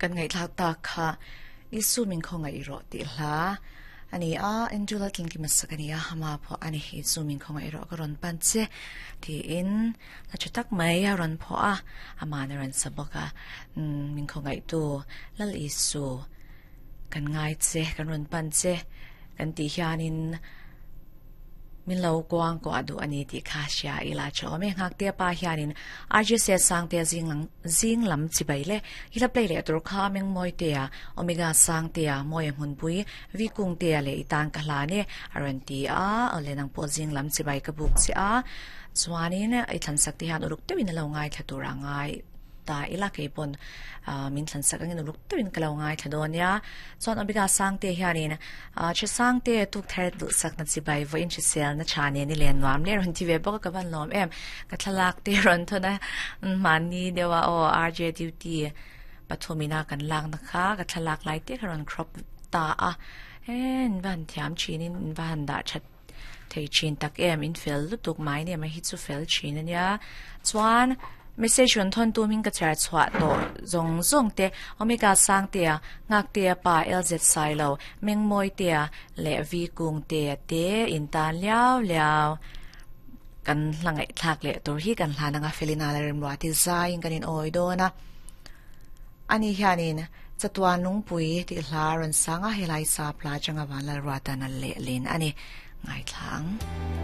Kan ngaihthlak tak kha Isu min khawngaih rawh tih hla a ni a, Angela Tlinkima sak a ni a, ama pawh a ni Isu min khawngaih rawh ka rawn pan che tiin hla tha tak mai a rawn phuah a, ama'n a rawn sa bawk a, min khawngaihtu Lal Isu kan ngai che, kan rawn pan che kan tih hianin Min lo kuang kuah duh a ni tih kha hria ila tha awm e. Nghaktea pa hianin RGC Sangtea zing lang zing lam chibai le i la play leh tur kha Mengmawitea, Omega Sangtea, Mawia Hmunpui, Vi Kungtea leh i tan ka hlan e a rawn ti a. Awle nang pawh zing lam chibai ka buk che a, chuanin i thlansak te hian uluk deuhin a lo ngaithla tur a ngai. Ta ila kei pawn min thlan sak angin uluk deuhin ka lo ngaithla dawn nia. Chuan Omega Sangte hianin Che Sangte tuk thar duh sakna chibai vawiin hriselna tha nen i len nuam le rawn ti ve bawk a ka van lawm em. Ka thlalak te rawn thawn a mahni deuh a aw RJ duty pathumina kan lakna kha ka thlalak lai te kha rawn crop ta a. In va han thiam thinin in va han dah that thei thin tak em in fel lutuk mai nge mai hi chu fel thin ania chuan message rawn thawn tum in ka chhiar chhuah tawh zawng zawng te Omega Sangtea Nghaktea pa LZ Sailo Mengmawitea leh V Kungtea te in tan liau liau kan hla ngaihthlak leh tur hi kan hlan anga Felina la remruati zaiin kan in awi dawn a ani hianin Chatuan lungpui tih hla a rawn sang a, helai sap hla atanga Vanlalruatan a lehlin a ni. Ngaithla ang.